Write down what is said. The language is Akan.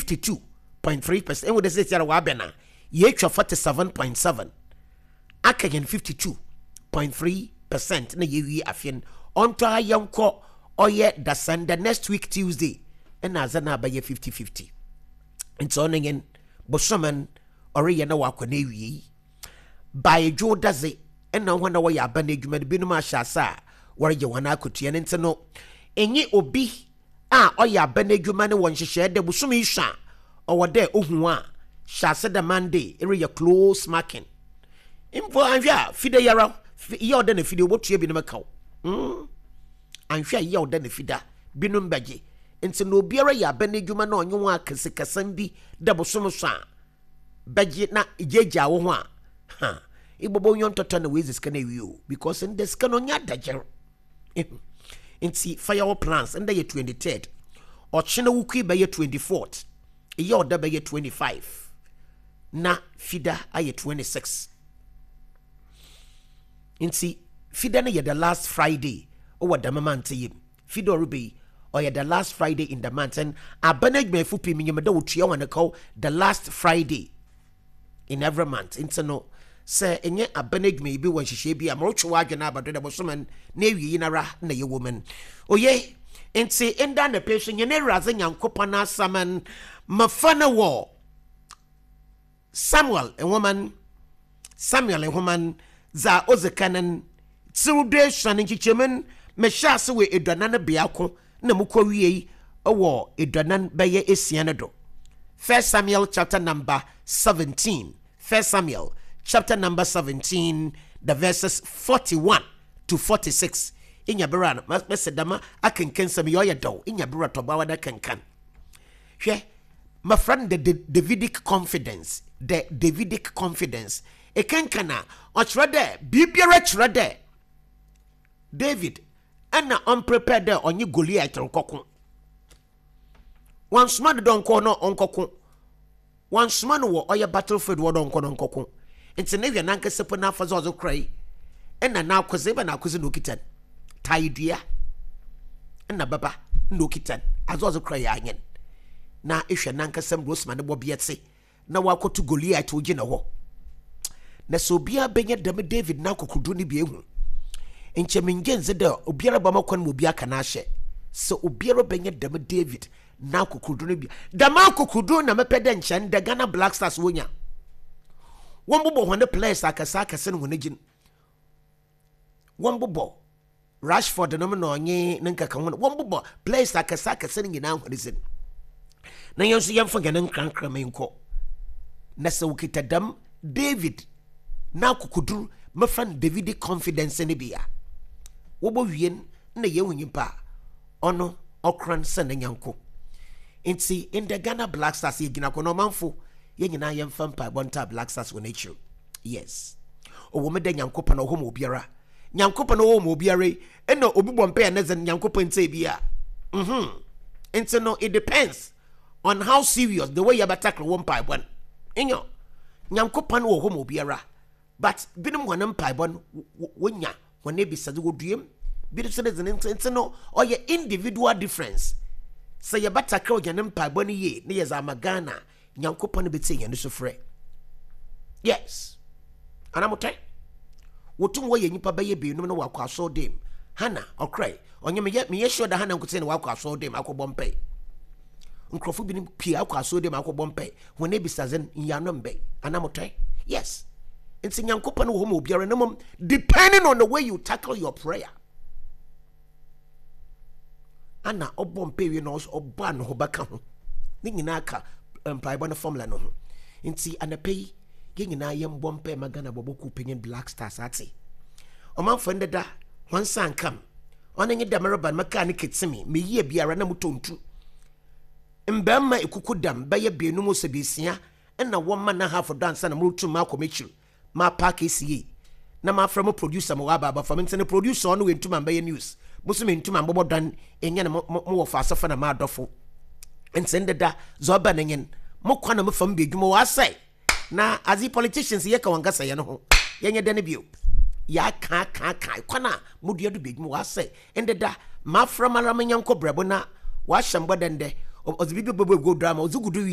52.3%. Ehu dɛ seseiara wɔabɛn a, yeetwa 47.7, aka hɛn 52.3% na yeewie afe no. Ɔntɔ ha yɛnkɔ ɔyɛ Dasanda, next week Tuesday, nna adze no abɛyɛ 50-50. Ntsi ɔno nye no, bosome no ɔreyɛ na ɔakɔ n'ewiei. By Dwowda dze, nna hɔn a wɔyɛ aban edwuma no binom ahyɛ ase a wɔregye hɔn akatua no ntsi no, enye obi a ɔyɛ aban edwuma no wɔ nhyehyɛɛ dɛ bosoom yi sua a ɔwɔ dɛ ohu wo a, hyɛ ase dɛ Monday ereyɛ close marking. Mpo annhwɛ a Fida yi ara, yaw da na Fida obotua binom kaw. Mm, annhwɛ a yaw da na Fida binom bɛgye. Ntsi na obiara yɛ aban edwuma na ɔnye wo aka sikasɛm bi dɛ bosoom sua a, bɛgye na egyaagyaa wo ho a, ha, ebɔbɔ nyɔntɔtɔ na woedzi sika no ewie o, because ndɛ sika no ɔnnyɛ adagyer. Ehu. Nti fa yɛ wo plans, ndɛ yɛ 23rd, ɔkyena wukui bɛyɛ 24th, eyɛ ɔda bɛyɛ 25, na fida ayɛ 26. Nti fida no yɛ the last Friday wɔ dɛm month yi mu. Fi dɛ ɔreba yi, ɔyɛ the last Friday in the month and aban edwumayɛfo pii minyim dɛ wotua hɔn kaw the last Friday in every month. Ntsi no, sɛ enye aban edwumayɛ bi wɔ nhyehyɛɛ bi a, morotwe w'adwen aba do dɛ bosoom no n'ewiei noara na yɛwɔ mu no. Oye, ntsi ndɛ anapa yi so hɛn Ewuradze Nyankopɔn n'asɛm no, mefa no wɔ Samuel nwoma no, Samuel nwoma no, dza odzi kan no, tsir duesuon nkyekyɛmu no, mehyɛɛ ase wɔ eduanan biako na mukowiei wɔ eduanan bɛyɛ esia no do. First Samuel chapter number 17, First Samuel chapter number 17, the verses 41 to 46. Inya ber a mese dɛm akenkansɛm yi ɔyɛ dɛw, inya ber a tɔbaawa na kenkan. Hwɛ, Mɛfrɛ no the Davidic confidence, the Davidic confidence. Ekenkan a, ɔkyerɛ dɛ biribiara kyerɛ dɛ David nna ɔmmprepare dɛ ɔnye Goliath rokɔko. Wɔannsoma no dɛ ɔnkɔ na ɔnkɔko. Wɔannsoma no wɔ ɔyɛ battlefield hɔ dɛ ɔnkɔ na ɔnkɔko. Ntsi no hwɛ nankasa mpo n'afadze a ɔdze korae nna n'akodze, ebɛn akodze na okitsa no? Tae dua nna bɛba nna okitsa no, adze a ɔdze korae ara nye no. Na ehwɛ nankasa mbrɛ osi ma no bɔbea tse na ɔakɔto Goliath ogyina hɔ. Na sɛ obiara benya dɛm David n'akokodur no bi ehu, nkyɛ menngye nndzi dɛ obiara bɛma kwan ma obi aka n'ahyɛ. Sɛ obiara benya dɛm David n'akokodur no bi a, dɛm akokodur na mepɛ dɛ nkyɛ ndɛ Ghana Black Stars wonya. Wɔmbobɔ hɔn players akɛse akɛse no hɔn egyin. Wɔmbobɔ Rashford nom na ɔnye ne nkekaho no, wɔmbobɔ players akɛse akɛse no nyinaa hɔn dzin. Na yɛn nso yɛmfa hɛn nkrankram nkɔ. Na sɛ wokita dɛm David n'akokodur, mɛfa no Davidic confidence no bi a, wɔbɔwie no na yehu nyimpa a ɔno ɔkoran sɛ ne nyɛnko. Ntsi ndɛ Ghana Black Stars yɛgyina ko na ɔmanfo yɛn nyinaa yɛmfa mpaebɔ ntaa Black Stars wɔ n'ekyir. Yes. Ɔwɔ mu dɛ Nyankopɔn ɔwɔ hɔ ma obiara. Nyankopɔn ɔwɔ hɔ ma obiara yi, nna obi bɔ mpae a ne dze no Nyankopɔn nntsie bi a. Mhm. Ntsi no it depends on how serious the way yɛbɛtakle wo mpaebɔ no. Nyew, Nyankopɔn wɔ hɔ ma obiara. But binom hɔn mpaebɔ no wonya hɔn ebisadze wodua mu, binom so ne dze no ntsi no ɔyɛ individual difference. Sɛ yɛbɛtakle hɛn mpaebɔ no yie na yɛdze ama Ghana a, Nyankopɔn betsie hɛn sufrɛ. Yes. Ana motɛ? Wotum wɔyɛ nyimpa bɛyɛ beenum na wɔakɔ asɔr dan mu. Hannah, ɔkorae. Ɔnye meyɛ meyɛ sure dɛ Hannah nkotsee na ɔakɔ asɔr dan mu akɔbɔ mpae. Nkorɔfo binom pii akɔ asɔr dan mu akɔbɔ mpae. Hɔn ebisadze no, nyiano mmbɛn. Ana motɛ? Yes. Ntsi Nyankopɔn wɔ hɔ ma obiara na mbom depending on the way you tackle your prayer. Ana ɔbɔ mpae wie na ɔbɔ anohoba ka ho. Ne nyinaa ka mpaebɔ no formula no ho. Nti anapa yi, yɛn nyinaa yɛmbɔ mpae ma Ghana bɔbɔ kuw panyin Black Stars ate. Ɔmanfo ndeda hɔn nsa nkam. Ɔno nye dɛ mereba no mekaa ne ketsemi, meyie biara na motɔ ntu. Mmarima ekuku dam bɛyɛ beenum ose beesia na wɔma na half do ansa na morutum makɔ m'ekyir. Mapaake esi yie na mafrɛ mo producer ma ɔaba abɛfa me ntsi no producer ɔno oenntum ammbɛyɛ news mo so menntum ammbɔbɔ dan enye no mo mo wɔfaasefo na m'adɔfo ntsi ndeda dza ɔba no nye n' mo kwan na mefa mu ba edwuma ɔasɛe na adze politicians yɛka wɔn kasa yɛn ho yɛnyɛ dɛn bio yɛaka aka aka kwan a modua do ba edwuma ɔasɛe ndeda mafrɛ mara me nyɛnko brɛbo na ɔahyɛ mbɔ dɛ ndɛ ɔdze biribi bɛbɔ egu do ama ɔdze gu do wie.